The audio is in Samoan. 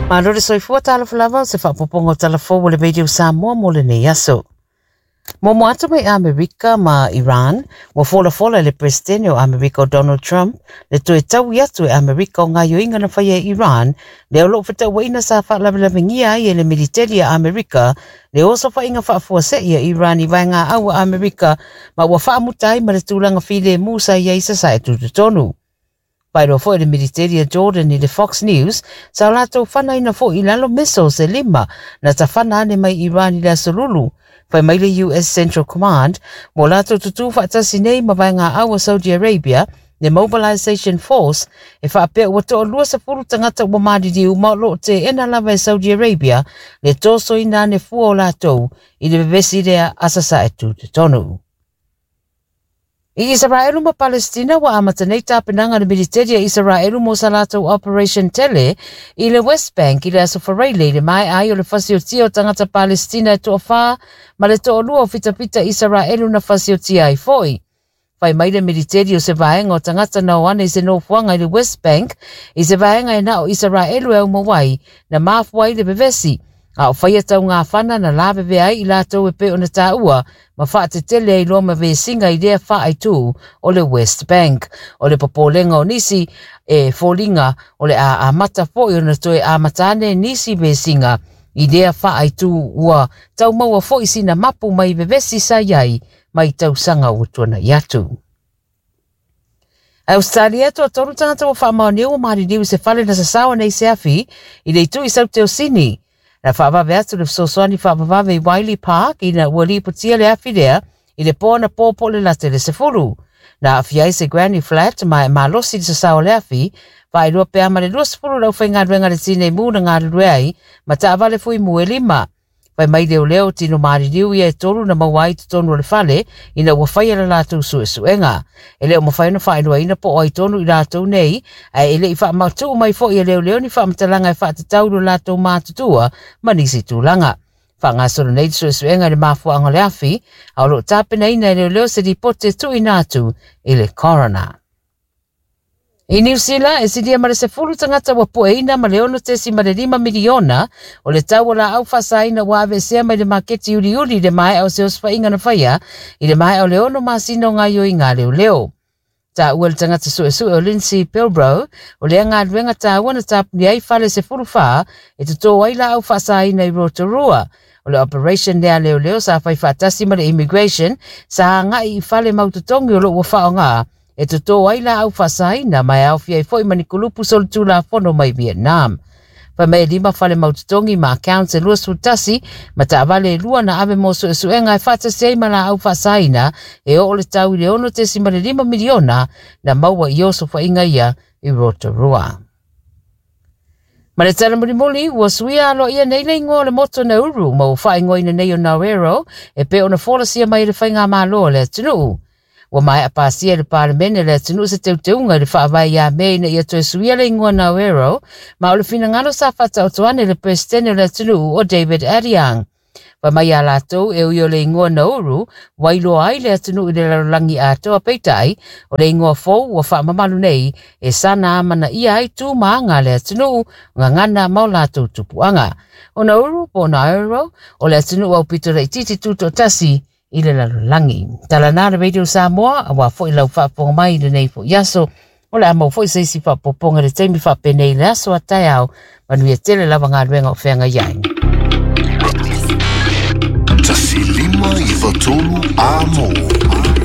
Malo le soifua talofa lava o se faapopoga o tala fou o le Radio Samoa mo lenei aso. Muamua atu mai Amerika ma Iran, ua folafola e le Peresetene o Amerika o Donald Trump le toe taui atu e Amerika o gaoioiga na faia e Iran, lea o lo o fetauaiina sa faalavelavegia ai e le militeli a Amerika le osofaiga faafuasei a Iran i vaegaau a Amerika ma ua faamuta ai ma le tulaga filemu sa i ai sasae tutotonu. Faailoa foi le militeli a Jordan i le Fox News sa o latou fanaina foi i lalo missiles e lima na tafana ane mai Iran i le Aso Lulu. Fai mai le US Central Command ua latou tutū faatasi nei ma vaegaau a Saudi Arabia le Mobilization Force e faapea ua toalua 20 tagata ua maliliu ma o lo o teena lava e Saudi Arabia le tosoina ane fua o latou i le vevesi lea a sasae tutotonu. I Isaraelu ma Palestina ua amata nei tapenaga a le militeli a Isaraelu mo sa latou Operation Tele i le West Bank i le Aso Faraile i le maea ai o le fasiotia o tagata Palestina e toafa ma le toalua o fitafita Isaraelu na fasiotia ai foi. Fai mai le militeli o se vaega o tagata na o ane i se nofoaga i le West Bank i se vaega e na o Isaraelu e aumau ai na mafua ai le vevesi a o faia taugafana na lavevea ai i latou e pei ona taua ma faatetele ai loa ma vesiga i lea faaitū o le West Bank. O le popolega o nisi e foliga o le a amata foi ona toe amata ane nisi vesiga i lea faaitū ua taumaua foi sina mapu mai vevesi sa i ai mai tausaga ua tuanai atu. Australia, toatolu tagata ua faamaonia ua maliliu i se fale na sasao nei se afi i le itu i Saute o Sini. Na faavave atu le fesoasoani faavavave i Wiley Park ina ua lipotia le afi lea i le po anapo po o le lata i le 10. Na aafia ai se granny flat ma e malosi le sasao o le afi, faailoa pea ma le 20 le aufaigaluega le tinei mu na galulue ai ma taavale fuimu e lima. Fai mai leoleo tino maliliu ia e tolu na maua ai totonu o le fale ina ua faia le latou suesuega. E le o mafai ona faailoaina po o ai tonu i latou nei, ae e le i faamatuu mai foi e leoleo ni faamatalaga e faatatau i lo latou matutua ma nisi tulaga. Faagasolo nei le suesuega i le mafuaaga o le afi, a o lo o tapenaina e leoleo se lipoti e tuuina atu i le coroner. I Niu Sila, e silia ma le 10 tagata ua pueina ma le 6.5 miliona o le tau o laau faasaina ua aveesea mai le maketi uliuli i le maea o se osofaiga na faia i le maea o le 6 masina o gaoioiga a leoleo. Taua le tagata suesue o Lindsay Pilbrow, o lea galuega taua na tapuni ai fale 14 e totō ai laau faasaina i Rotorua. O le operation lea a leoleo sa fai faatasi ma le immigration sa agai i fale mautotogi o lo o ua faaaoga e totō ai laau faasaina ma e aofia ai foi ma ni kulupu solitulafono mai Vietnam. Fai mai e lima fale mautotogi ma accounts e 21 ma taavale e lua na ave mo suesuega e faatasi ai ma laau faasaina e oo le tau i le 6.5 miliona na maua i osofaiga ia i Rotorua. Ma le tala mulimuli, ua suia aloaia nei le igoa o le motu o Nauru ma ua faaigoaina nei o Naoero e pei ona folasia mai e le faigamalo a le atunuu. Ua maea pasia e le Palemene le atunuu se teuteuga i le faavae ia Me ina ia toe suia le igoa Naoero, ma o le finagalo sa faataoto ane le Peresetene o le atunuu o David Adeang. Fai mai iā latou e ui o le igoa Nauru, ua iloa ai le atunuu i le lalolagi atoa peitai, o le igoa fou ua faamamalu nei e sana amanaia ai tu ma aga a le atunuu, gagana ma o latou tupuaga. O Nauru po o Naoero, o le atunuu aupito laitiiti tutoatasi i le lalolagi. Tala na le Radio Samoa, aua foi lau faafofoga mai i lenei foi aso. O le a maua foi se isi faaopoopoga i le taimi faapenei i le aso a taeao. Manuia tele lava galuega o feagai ai. 1593 A mou.